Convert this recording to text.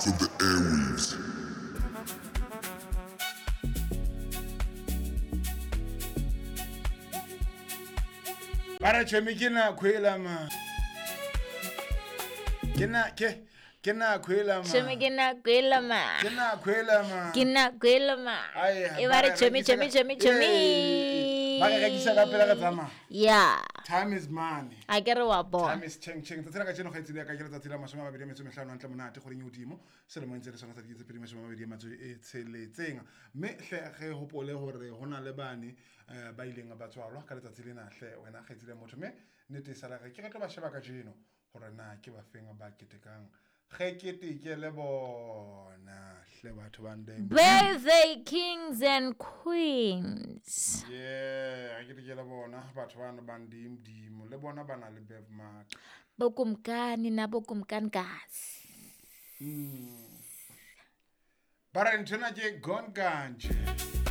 From the airwaves. Ba re tšhomi ke nako ela ma. Ke na ke ke nako ela ma. Tšhomi ke nako ela ma. Ke nako ela ma. Ke nako ela ma. Ai, E ba re tšhomi tšhomi tšhomi tšhomi. Ba re rekisa ka pela re tsamaya. Ya. Time is money. A ke re wa bona. Time is cheng cheng. Tsatsi la kajeno kgaitsedi ya ka ke letsatsi la 25 hantle monate kgweding e hodimo. Selemong se le sona sa 2026. Mme hle re hopole hore ho na le bane ba ileng ba tswalwa ka letsatsi lena hle wena kgaitsedi ya motho. Mme nnete e sala re ke re tlo ba sheba kajeno hore na ke ba feng ba ketekang. Ge keteke le bona hle batho ba ndeng. Birthday kings and queens. Yeah, ge keteke le bona batho bano ba ndimo le bona ba na le birthmark. Bokumkani na bokumkanikazi. Ba re nthwena ke gone kanje.